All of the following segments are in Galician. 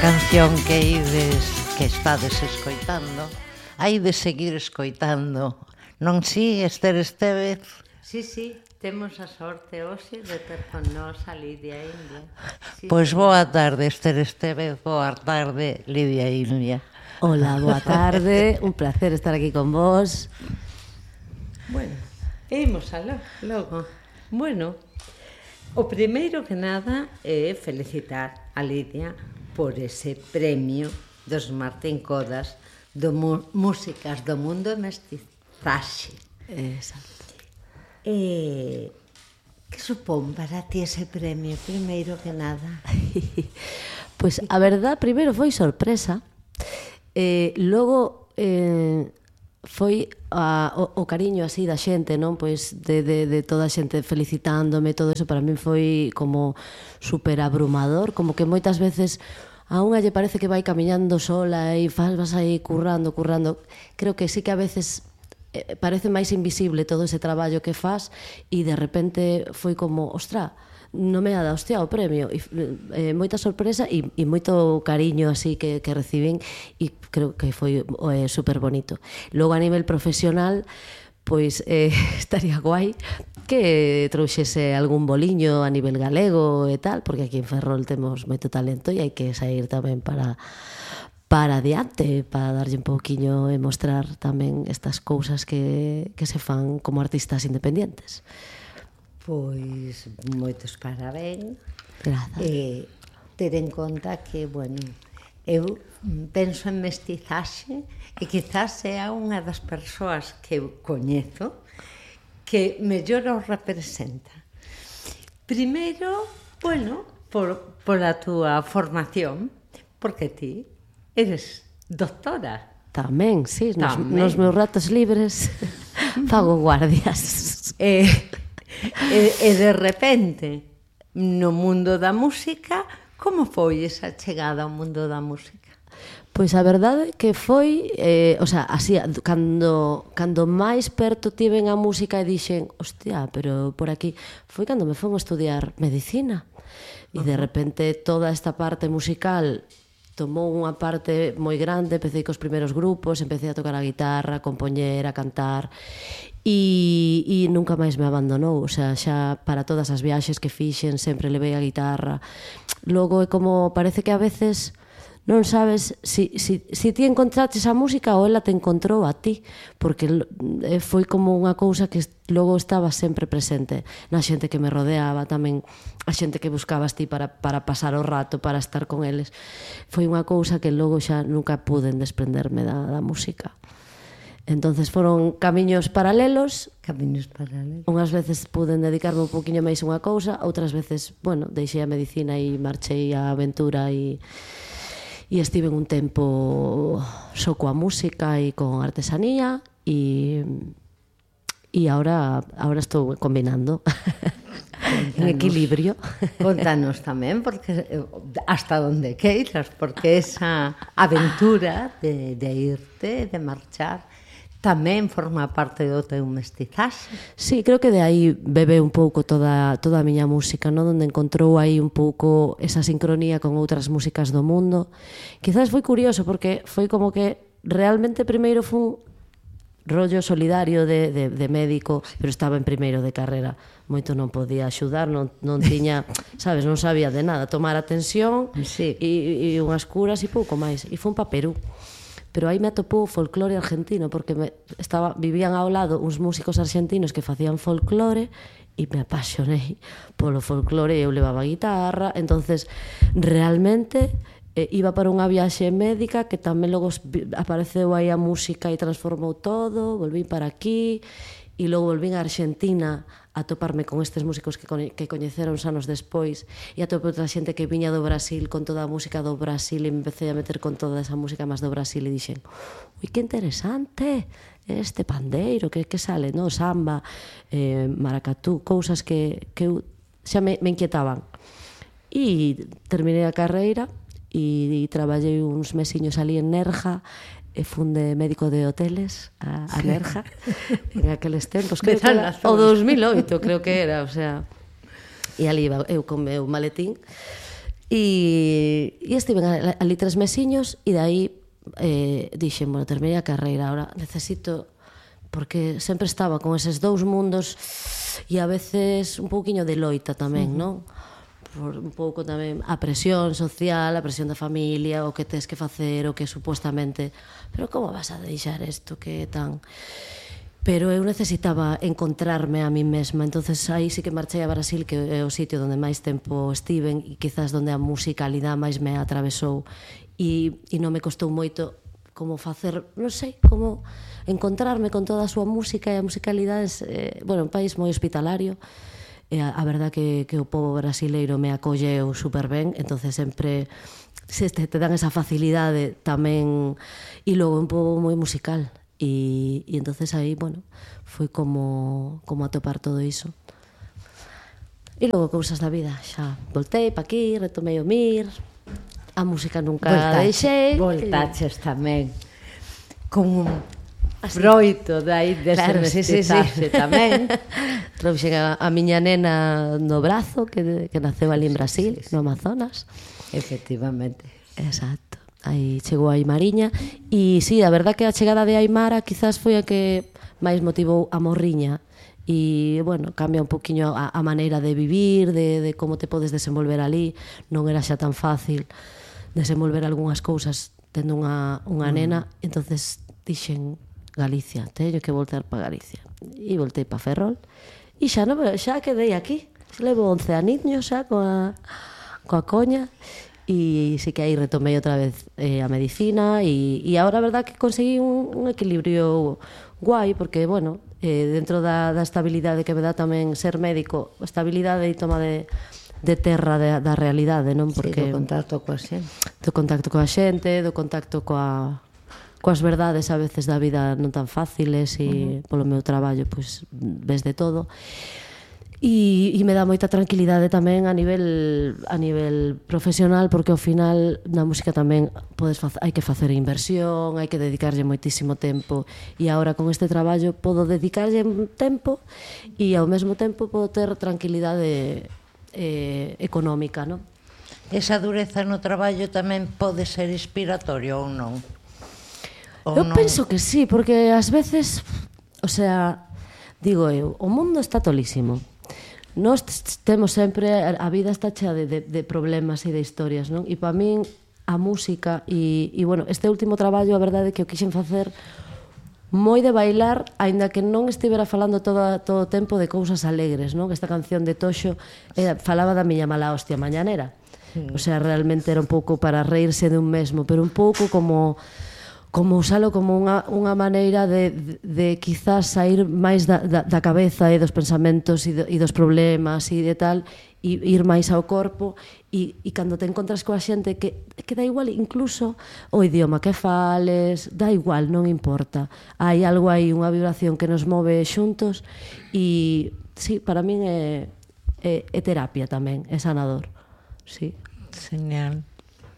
Canción que estades escoitando, hai de seguir escoitando, non si, Ester Estévez? Sí, temos a sorte hoxe de ter con nós a Lidia India. Pois boa tarde, Ester Estévez, boa tarde, Lidia India. Hola, boa tarde, un placer estar aquí con vos. Bueno, imos aló, logo. Bueno, o primeiro que nada é felicitar a Lidia por ese premio dos Martín Codas do Músicas do Mundo e Mestizaxe. Exacto. Que supón para ti ese premio, primeiro que nada? Pois a verdad, primeiro foi sorpresa. Logo foi o cariño así da xente, non? Pois de toda a xente felicitándome, todo eso para min foi como super abrumador, como que moitas veces a unha lle parece que vai camiñando sola e vas aí currando. Creo que sí que a veces parece máis invisible todo ese traballo que faz e de repente foi como, ostra, non me ha dado hostia o premio, e moita sorpresa e moito cariño así que recibín, e creo que foi super bonito. Logo a nivel profesional, pois estaría guai que trouxese algún boliño a nivel galego e tal, porque aquí en Ferrol temos moito talento e hai que sair tamén para adiante, para darlle un pouquiño e mostrar tamén estas cousas que se fan como artistas independientes. Pois moitos parabéns. Grazas. Ter en conta que, bueno, eu penso en mestizaxe e quizás sea unha das persoas que eu coñezo que mellor os representa. Primeiro, bueno, por a túa formación, porque ti eres doctora. Tamén, sí, nos meus ratos libres fago guardias. E de repente, no mundo da música, como foi esa chegada ao mundo da música? Pois a verdade que foi, así, cando máis perto tiven a música e dixen, hostia, pero por aquí, foi cando me fomos a estudiar medicina. E de repente toda esta parte musical tomou unha parte moi grande, empecé cos primeiros grupos, empecé a tocar a guitarra, a compoñer, a cantar, e nunca máis me abandonou, o sea, xa para todas as viaxes que fixen sempre levei a guitarra. Logo é como, parece que a veces non sabes si ti encontraches a música ou ela te encontrou a ti, porque foi como unha cousa que logo estaba sempre presente na xente que me rodeaba, tamén a xente que buscabas ti para pasar o rato, para estar con eles. Foi unha cousa que logo xa nunca puden desprenderme da música. Entonces foron camiños paralelos. Unhas veces puden dedicarme un poquinho máis a unha cousa, outras veces, bueno, deixei a medicina e marchei á aventura e estive un tempo só coa música e con artesanía e ahora estou combinando en equilibrio. Contanos tamén, porque hasta onde queiras, porque esa aventura de irte, de marchar, tamén forma parte do teu mestizaxe. Sí, creo que de aí bebe un pouco toda a miña música, non? Onde encontrou aí un pouco esa sincronía con outras músicas do mundo. Quizás foi curioso, porque foi como que realmente primeiro foi un rollo solidario de médico, pero estaba en primeiro de carrera, moito non podía axudar, non tiña, sabes, non sabía de nada, tomar atención e unhas curas e pouco máis, e foi para Perú. Pero aí me atopou o folclore argentino, porque vivían ao lado uns músicos argentinos que facían folclore e me apasionei polo folclore, eu levaba a guitarra, entonces realmente iba para unha viaxe médica que tamén logo apareceu aí a música e transformou todo, volvín para aquí e logo volvín a Argentina a toparme con estes músicos que coñeceron anos despois e atopei outra xente que viña do Brasil con toda a música do Brasil e me empecé a meter con toda esa música máis do Brasil e dixen, ui, que interesante este pandeiro, que sale, no? Samba, maracatú, cousas que xa me inquietaban. E terminei a carreira e traballei uns mesiños ali en Nerja e fun de médico de hoteles a Nerja en aqueles tempos, creo que era o 2008, creo que era, o sea, e ali iba eu con meu maletín E estive ali 3 mesiños e dai dixen, bueno, terminei a carreira, ahora necesito, porque sempre estaba con eses dous mundos e a veces un pouquiño de loita tamén, non? Por un pouco tamén a presión social, a presión da familia, o que tes que facer, o que supostamente, pero como vas a deixar isto que tan... Pero eu necesitaba encontrarme a mí mesma, entonces aí sí que marchei a Brasil, que é o sitio onde máis tempo estiven e quizás onde a musicalidade máis me atravesou, e non me costou moito como facer, non sei, como encontrarme con toda a súa música e a musicalidade, bueno, un país moi hospitalario, e a verdad que o povo brasileiro me acolleu super ben, entonces sempre se te dan esa facilidade tamén, e logo un pobo moi musical, e entonces aí, bueno, foi como atopar todo iso. E logo cousas da vida, xa voltei pa aquí, retomei o MIR, a música nunca deixei. Voltaches tamén con un froito dai dese mestizaxe tamén. Trouxen a miña nena no brazo que naceu ali en Brasil, no Amazonas. Efectivamente. Exacto. Aí chegou a Aimariña e sí, a verdad que a chegada de Aimara quizás foi a que máis motivou a morriña. E, bueno, cambia un poquinho a maneira de vivir, de como te podes desenvolver ali. Non era xa tan fácil desenvolver algunhas cousas tendo unha nena, entonces dixen Galicia, teño que voltar para Galicia, e voltei para Ferrol e xa quedei aquí, levo 11 aniños xa coa coña, e sí que aí retomei outra vez a medicina, e agora a verdad que conseguí un equilibrio guai, porque, bueno, dentro da estabilidade que me dá tamén ser médico, estabilidade e toma de terra da realidade, non? Porque do contacto coa xente. Do contacto coa xente, do contacto coas verdades a veces da vida non tan fáciles, e polo meu traballo pois ves de todo. E me dá moita tranquilidade tamén a nivel profesional, porque ao final na música tamén hai que facer inversión, hai que dedicarlle moitísimo tempo, e agora con este traballo podo dedicarlle tempo e ao mesmo tempo podo ter tranquilidade económica, non? Esa dureza no traballo tamén pode ser inspiratorio ou non? Eu penso que sí, porque ás veces, o sea, digo eu, o mundo está tolísimo. Nós temos sempre, a vida está chea de problemas e de historias, non? E para min a música e bueno, este último traballo, a verdade é que o quixen facer moi de bailar, aínda que non estivera falando todo o tempo de cousas alegres, non? Esta canción de Toxo falaba da miña mala hostia mañanera. O sea, realmente era un pouco para reírse de un mesmo, pero un pouco como usalo como unha maneira de quizás sair máis da cabeza e dos pensamentos e dos problemas e de tal, e ir máis ao corpo, e cando te encontras coa xente que dá igual incluso o idioma que fales, dá igual, non importa, hai algo aí, unha vibración que nos move xuntos, e sí, para min é terapia tamén, é sanador, sí. Genial.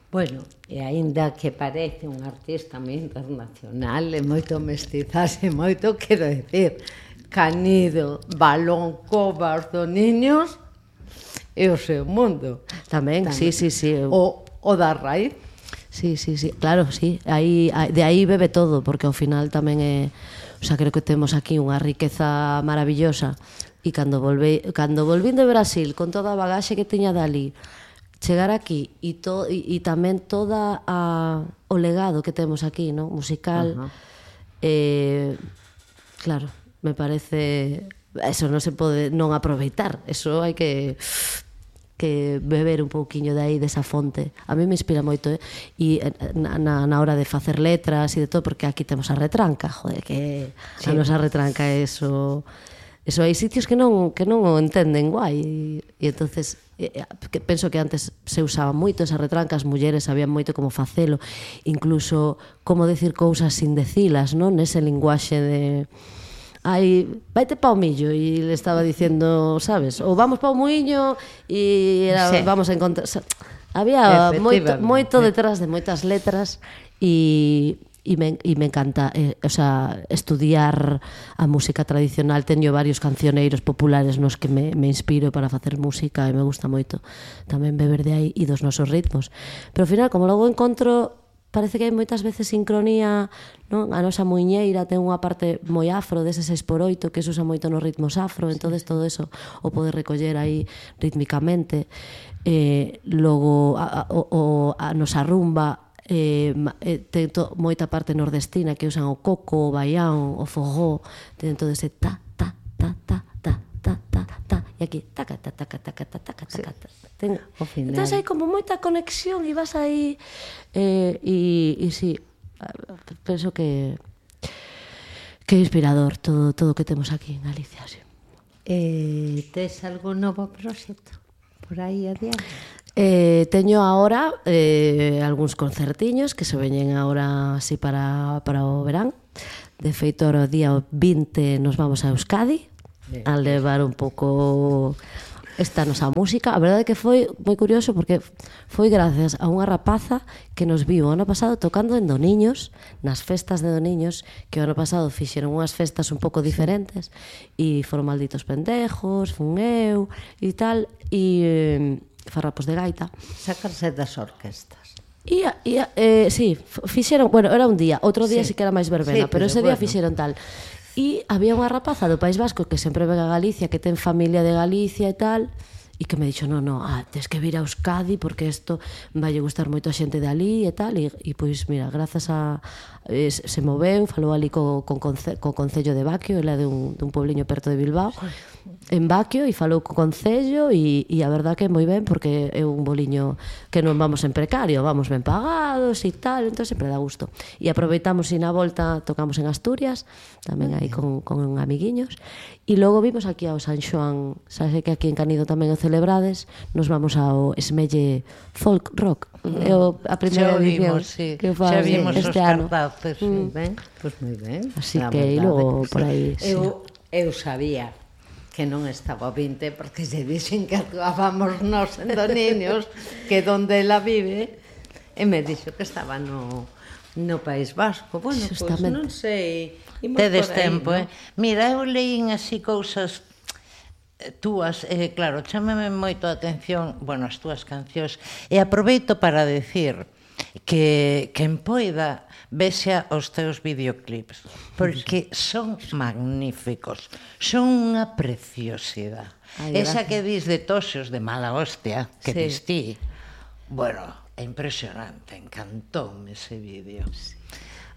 Bueno, e aínda que parece un artista moi internacional e moito mestizaxe, moito, quero decir, Canido, balón, covas dos niños e o seu mundo. Tamén. Sí. O da raíz. Sí, claro, sí. De aí bebe todo, porque ao final tamén é... O sea, creo que temos aquí unha riqueza maravillosa, e cando volvín de Brasil con toda a bagaxe que tiña dali, chegar aquí e tamén toda o legado que temos aquí, ¿no? Musical, claro, me parece, eso non se pode non aproveitar, eso hai que beber un pouquiño de aí, desa fonte. A mí me inspira moito, e na hora de facer letras e de todo, porque aquí temos a retranca, joder, que a nosa retranca é eso hai sitios que non o entenden guai, e entonces penso que antes se usaba moito esa retranca, as mulleres sabían moito como facelo, incluso como decir cousas sin decilas, non? Nese linguaxe de vaite pa o millo, e le estaba dicendo, sabes, ou vamos pa o muiño, e vamos a encontrar, había moito detrás de moitas letras, e me encanta estudiar a música tradicional. Teño varios cancioneiros populares nos que me inspiro para facer música e me gusta moito tamén beber de aí e dos nosos ritmos. Pero ao final, como logo encontro, parece que hai moitas veces sincronía, non? A nosa muiñeira ten unha parte moi afro dese 6x8 que se usa moito nos ritmos afro, entonces todo eso o poder recoller aí rítmicamente. Logo a nosa rumba ten moita parte nordestina que usan o coco, o baião, o fogó, ten todo ese ta, ta, ta, ta, ta, ta, ta, ta, e aquí taca, taca, taca, taca, taca, taca, taca. Entón hai como moita conexión e vas aí e sí, penso que é inspirador todo o que temos aquí en Galicia, sí. Tes algún novo proxecto por aí adiante? Teño agora algúns concertiños que se veñen agora así para o verán. De feito, o día 20 nos vamos a Euskadi a levar un pouco esta nosa música. A verdade é que foi moi curioso porque foi gracias a unha rapaza que nos viu o ano pasado tocando en Doniños, nas festas de Doniños, que o ano pasado fixeron unhas festas un pouco diferentes e foron Malditos Pendejos, fun eu e tal, e farrapos de gaita. Sacarse das orquestas. Sí, fixeron, bueno, era un día, outro día sí que era máis verbena, pero ese día fixeron tal. E había unha rapaza do País Vasco que sempre ven a Galicia, que ten familia de Galicia e tal, e que me dixo, no, tes que vir a Euskadi porque isto vai gustar moito a xente de ali e tal, e pois, mira, grazas a se moveu, falou ali co Concello de Baquio, ela é dun pobliño perto de Bilbao, en Baquio, e falou co Concello, e a verdad que é moi ben porque é un boliño que non vamos en precario, vamos ben pagados e tal, entón sempre dá gusto. E aproveitamos e na volta tocamos en Asturias, tamén aí con amiguiños, e logo vimos aquí ao San Xoán, sabes que aquí en Canido tamén o celebrades, nos vamos ao Esmelle Folk Rock, é a primeira edición que faz este ano. Pois moi ben. Así que logo por aí. Eu sabía que non estaba o 20 porque se dixen que actuábamos nos en Doniños, que donde ela vive, e me dixo que estaba no País Vasco. Bueno, pois non sei. Tedes tempo, Mira, eu leín así cousas túas, claro, chámame moito a atención, bueno, as túas cancións, e aproveito para decir que en poida vexa os teus videoclips, porque son magníficos, son unha preciosidade. Esa que dis de Toxos de mala hostia, que dis ti, bueno, é impresionante, encantoume ese vídeo.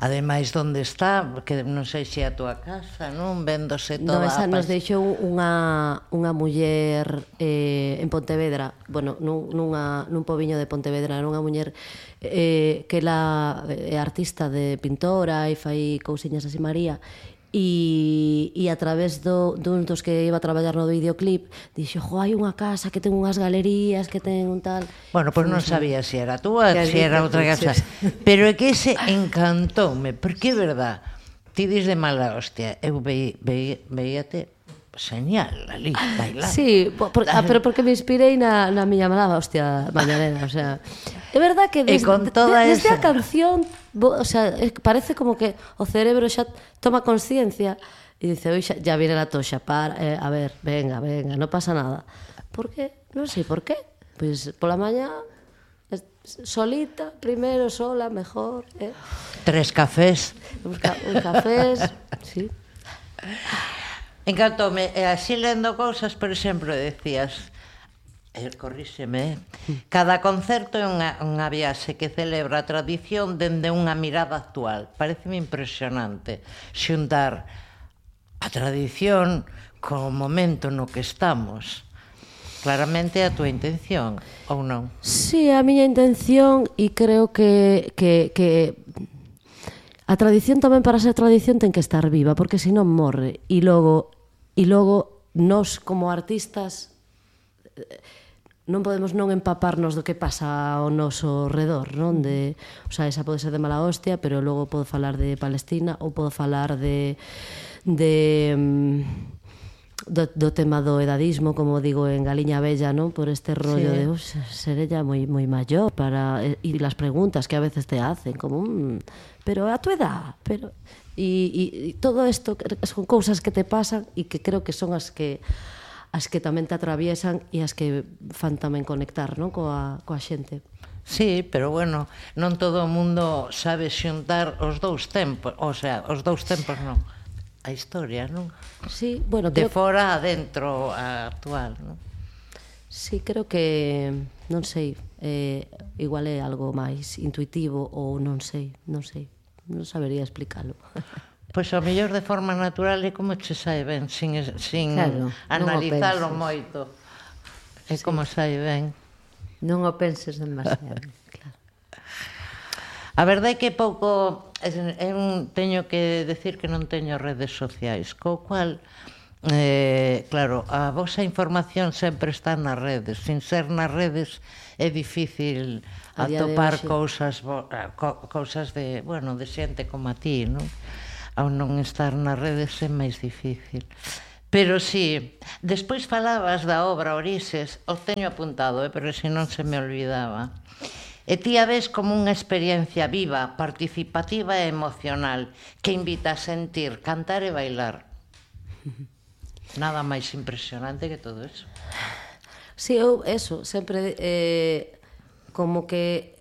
Ademais, onde está, que non sei se é a túa casa, non? Vendose toda esa nos deixou unha muller en Pontevedra, bueno, nun pobiño de Pontevedra, era unha muller que ela é artista de pintora e fai cousiñas así María, e a través dun dos que iba a traballar no videoclip dixo, hai unha casa que ten unhas galerías, que ten un tal... Bueno, pois non sabía se era túa, se era outra casa, pero é que ese encantoume, porque é verdad, ti dis de mala hostia, eu veíate señal ali, bailar. Sí, pero porque me inspirei na miña mala hostia mañanera, o sea, é verdad que desde a canción, o sea, parece como que o cerebro xa toma consciencia e dice, oi, ya viene la toxa, a ver, venga, non pasa nada. Por qué? Non sei por qué. Pois pola mañá solita, primeiro, sola, mejor. 3 cafés. Un cafés, sí. Encantoume, así lendo cousas, por exemplo, decías, corríxeme, cada concerto é unha viaxe que celebra a tradición dende unha mirada actual. Pareceme impresionante xuntar a tradición co momento no que estamos. Claramente é a túa intención, ou non? Sí, a miña intención, e creo que a tradición tamén, para ser tradición, ten que estar viva, porque senón morre. E logo nós como artistas non podemos non empaparnos do que pasa ao noso redor, non? O sea, esa pode ser de mala hostia, pero logo podo falar de Palestina ou podo falar de do tema do edadismo, como digo en Galiña Bella, non? Por este rollo de seré ya moi maior para e las preguntas que a veces te hacen como pero a tu edad, pero e todo isto son cousas que te pasan e que creo que son as que tamén te atraviesan e as que fan tamén conectar, non? Coa xente. Sí, pero bueno, non todo o mundo sabe xuntar os dous tempos, o sea, os dous tempos non, a historia, non? Sí, bueno, de fora a dentro a actual, non? Sí, creo que, non sei, igual é algo máis intuitivo ou non sei, non sabería explicarlo. Pois ao mellor de forma natural é como che sae ben, sin claro, analizalo moito. É como sae ben. Non o penses demasiado. Claro. A verdade é que pouco... teño que decir que non teño redes sociais, co cual, claro, a vosa información sempre está nas redes. Sin ser nas redes é difícil atopar cousas de, bueno, de xente como a ti, non? Ao non estar nas redes é máis difícil. Pero sí, despois falabas da obra Orixes, o teño apuntado, pero se non se me olvidaba. E ti a ves como unha experiencia viva, participativa e emocional que invita a sentir, cantar e bailar. Nada máis impresionante que todo eso. Sí, eu, eso, sempre como que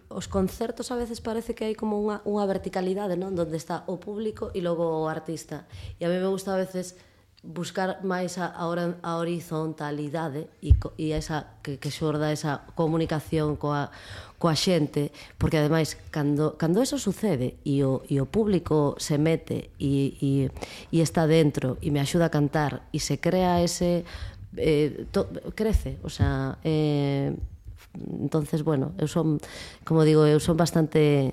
os concertos a veces parece que hai como unha verticalidade, non? Donde está o público e logo o artista. E a mí me gusta a veces buscar máis a horizontalidade e esa que xorda esa comunicación coa xente, porque ademais cando eso sucede e o público se mete e está dentro e me axuda a cantar e se crea ese crece, o sea, entonces, bueno, eu son, como digo, eu son bastante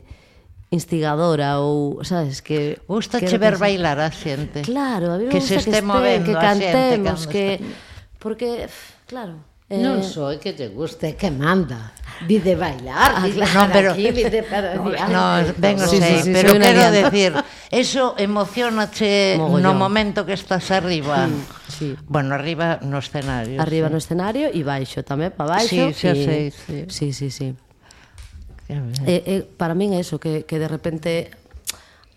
instigadora ou, sabes, que gustache ver bailar a xente. Claro, a mí me que gusta se este movendo que cantemos, que porque, claro, non só que te guste, que manda. Vide bailar, vide no, pero, aquí, vide para diante. No, ben o sei, pero quero decir, eso emocionache no momento que estás arriba. Sí. Bueno, arriba no escenario. Arriba no escenario e baixo tamén, para baixo. Sí, xa sei. Sí. Para min é eso, que de repente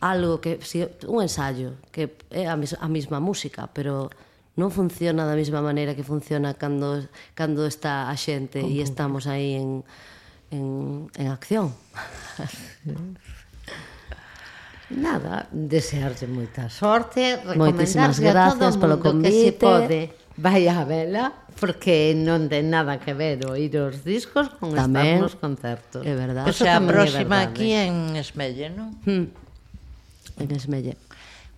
algo que, un ensayo que é a mesma música, pero non funciona da mesma maneira que funciona cando está a xente e estamos aí en acción. Nada, desearlle moita sorte, moitísimas recomendarlle gracias polo convite. Que se pode vai a vela, porque non ten nada que ver oír os discos con estar nos concertos. É verdade. O sea, a próxima aquí en Esmelle, non? En Esmelle.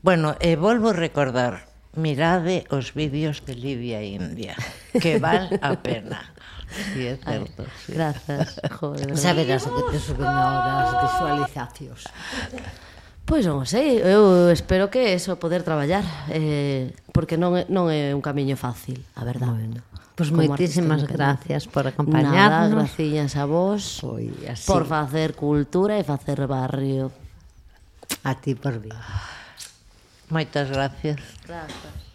Bueno, volvo a recordar, mirade os vídeos de Lidia India, que val a pena. Sí, é certo. Sí. Gracias, joder. Saberás o que te suben ahora as visualizacións. Pois non sei, eu espero que eso, poder traballar, porque non é un camiño fácil, a verdade. Bueno, pois moitísimas gracias por acompañarnos. Nada, gracias a vos por facer cultura e facer barrio. A ti por vir. Moitas gracias. Gracias.